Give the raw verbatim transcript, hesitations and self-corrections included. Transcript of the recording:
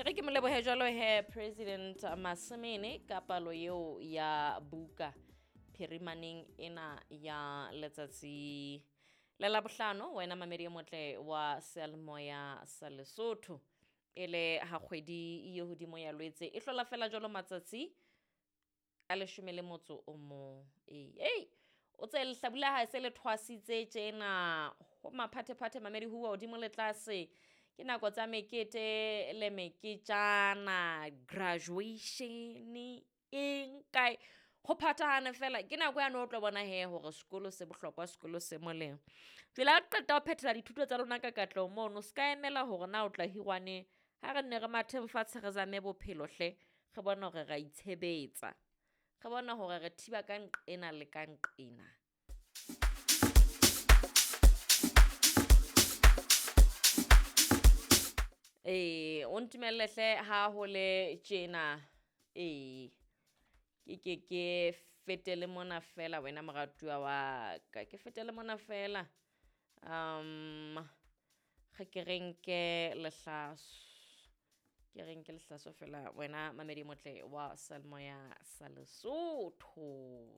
E re ke mo lebohe jwalo he President Masemene ka palo eo ya buka phirimaneng ena ya letsatsi le Labohlano. Wena mamedi e motle wa seyalemoya sa Lesotho, e le ha kgwedi ye hodimo ya Lwetse e hlola fela jwalo matsatsi a leshome le motso o mong. Ee, ei o tse lehlabula ha se le thwasitse tjena ho maphathephathe mamedi huwa hodimo le tlase. Ke nako tsa mekete le meketjana, graduation eng kae, ho phathahane fela. Ke nako yane o tlo bona hee hore sekolo se bohlokwa, sekolo se molemo. Jwale ha o qeta ho phethela dithuto tsa lona ka katleho mono, se ka emela hore na o tla hirwa neng. Ha re nne re matheng fatshe re zame bophelo hle, re bone hore ra itshebetsa, re bone hore re thiba ka nqena le ka nqena. Ee, o ntumelle hle ha ho le tjena. Ee, ke ke ke fetele mona fela wena moratuwa wa ka, ke fetele mona fela. Um re ke re nke lehlaso, ke re nke lehlaso fela wena mamedi e motle wa seyalemoya sa Lesotho.